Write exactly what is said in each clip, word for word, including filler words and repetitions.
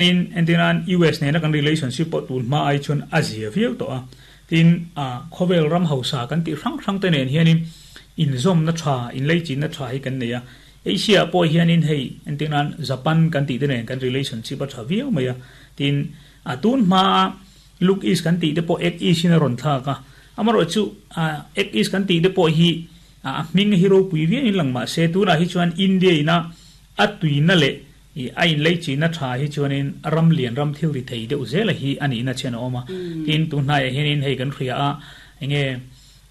In entinan U S nena kan relationship pawh tun hma ai chuan a zia viau tawh a. Tin, a khawvel ram hausa kan tih hrang hrang te nen hianin inzawmna tha, inleichinna tha hi kan nei a. Asia pawh hianin hei entinan Japan kan tih te nen kan relationship a tha viau mai a. Tin, a tun hma Look East kan tih te pawh Act East in a rawn thlak a. Amarawh chu a Act East kan tih te pawh hi a hming hi ropui viauin lang mah se, tunah hi chuan India ina a tuina leh i a inleichinna tha hi chuanin ram lian, ram thil ri thei deuh zela hi ani na chen a awm a. Tin, tun hnaiah hianin hei kan hria a, enge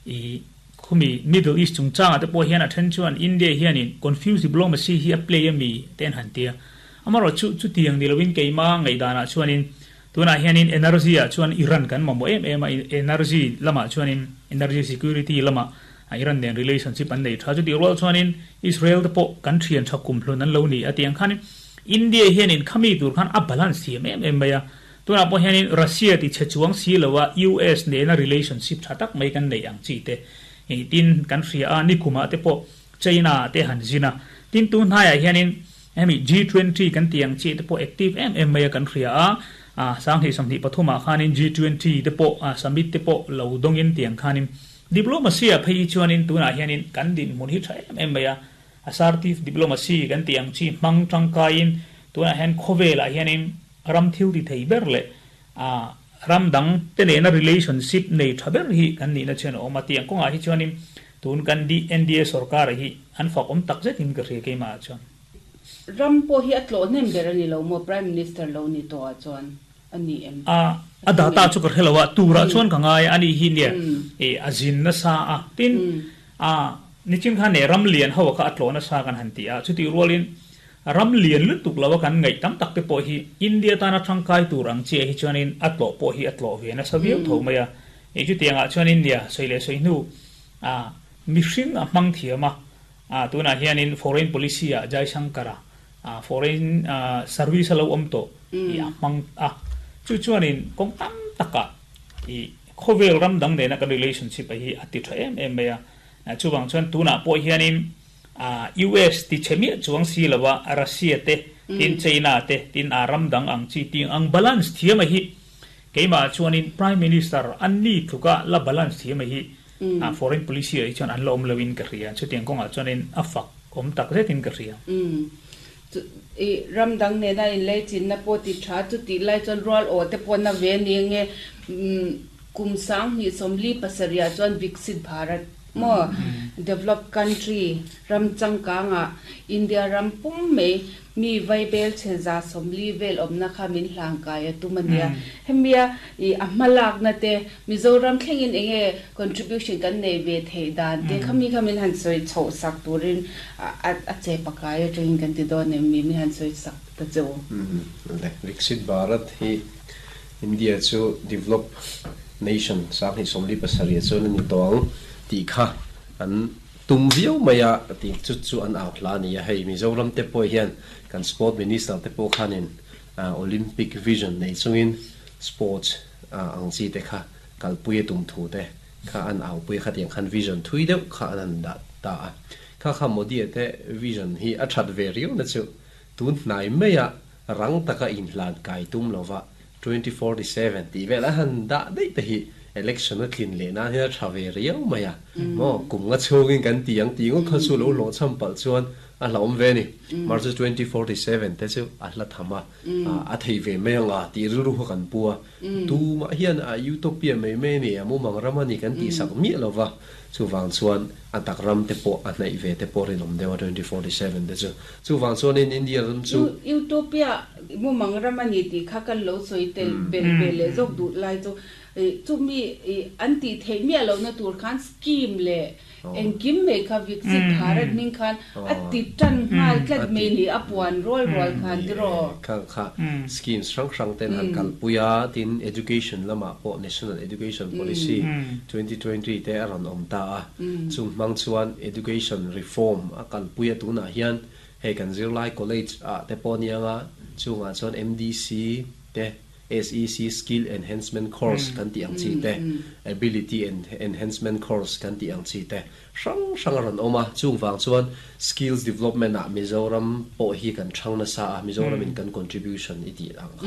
i khumi Middle East chungchangah te pawh hian a then chuan India hianin confuse diplomacy hi a play ami ten han tia. Amarawh chu chutiang ni lovin keima ngaihdanah chuanin tunah hianin energy ah chuan Iran kan mamawh em em a. Energy lamah chuanin energy security lamah Iran nen relationship an nei tha. Chu ti rual chuanin Israel te pawh kan thian tha kum hlun an lo ni a. Tiang khanin India hianin khami tur khan a balance thiam em em mai a. Tunah pawh hianin Russia ti che chuang si lowa U S nena relationship tha tak mai kan nei ang chi te. Tin, kan hria a, ni kuma te pawh China te han zina. Tin, tun hnaiah hianin hemi G twenty kan tiang chi te pawh active em em mai a kan hria a. A sanghnih sawmhnih pathumah khanin G twenty te pawh a summit te pawh lo dawngin tiang khanin diplomacy a phei chuanin tunah hianin kan din hmun hi tha em em mai a. Assertive diplomacy kan tiang chi hmang tangkaiin tunah hian khawvelah hianin ram thil ti thei ber leh a ram dang te nena relationship nei tha ber hi kan nih na chen a awm a. Tiang kawngah hi chuanin tun kan di N D A sarkar hi an fak awm tak zetin ka hria keimah chuan. Ram pawh hi a tlawh hnem ber ani lo maw, prime minister lo ni to ah chuan ani em? A a data chu ka hrelowa tura chuan ka ngai ani hi nia e a zin na sa a. Tin, a nichin khan ne ram lian ho kha a tlawh na sa kan han ti a. Chuti rualin ram lian lutuk lawa kan ngai tam tak te pawh hi India tana thangkai tur ang chi hi chuanin a tlawh pawh hi a tlawh ve na sa viau tho mai a. E chu tiangah chuan India soile soi hnu a mihring a hmang thiama a. Tunah hianin foreign policy a Jaishankara a foreign service lo awm tawh i a hmang a. Chu chuanin kawng tam taka i khawvel ram dang nena kan relationship a hi a ti tha em em mai a. Chuwang chuan tunah pawh hianin a U S ti chemia chuang si lawa Russia te, tin China te, tin a ram dang ang chi ting ang balance thiam a hi keima chuanin prime minister an ni thuka la balance thiam a hi a foreign policy ai chuan an la awm lovin ka hria. Chutiang kawngah chuanin a fak awm tak zetin ka hria. I ram dang nena in lei chin na pawh ti tha chu ti lai chuan rual aw te pawh na ve ni nge kum sang hnih sawmli pasarih chuan Viksit Bharat mo develop country ram changkanga India ram pum mai mi vaibel che za sawmli vel awmna kha min hlang kai a tumania. Hemia i a hmalak na te Mizoram thlengin enge contribution kan nei ve thei dan te khami khamin han soi chho sak turin a a che pakai a tengin kan ti dawn em mi mi han soi sak ta chu. Le Viksit Bharat hi India chu develop nation sang hi somli pasarih chuan ani tawng ti kha an tum viau maya ti chu chu an au hla ni a. Hei Mizoram te pawh hian kan sport minister te pawh khanin Olympic vision nei chungin sports ang chi te kha kalpui tum thu te kha an au pui kha. Tiang khan vision thui deuh kha an an da ta a. Kha kha Modi te vision hi a that ve riau na chu tun hnai maya rang taka in hlan kai tum lova twenty forty-seven ti vel a han da dei te hi election a tlin le na hi a tha ve riau maya mo. Kum nga chungin kan tiang ti ngo kha chu lo lo cham pal chuan a hlawm ve ni. March twenty forty-seven te chu a hla thama a thei ve mai anga ti ru ru kan pua tu ma hian a utopia mai mai ni amu mang ramani kan ti sak mi lova. Chu wang chuan a tak ram te pawh a hnaih ve te pawh rinawm deuh a twenty forty-seven te chu. Chu wang chuan in India ram chu Utopia mu mang ramani ti kha kan lo soi tel bel bel le zok du lai chu chu mi an ti thei mi alo na tur khan scheme le engkim mai kha Viksit Bharat ning khan a ti tan ngal tlat mai ni a puan rol rol khan tiro. Kha kha schemes hrang hrang ten han kalpuia. Tin, education lama pawh National Education Policy twenty twenty te a rawn awm ta a. Chung hmang chuan education reform a kalpuia. Tunah hian hei kan zirlai college a te pawh nianga chungah chuan M D C te S E C Skill Enhancement Course kan ti ang chi te, Ability en Enhancement Course kan ti ang chi te hrang hrang a ran oma. Chung wang chuan skills development a Mizoram pawh hi kan thang na sa a, Mizoram in kan contribution i ti ang.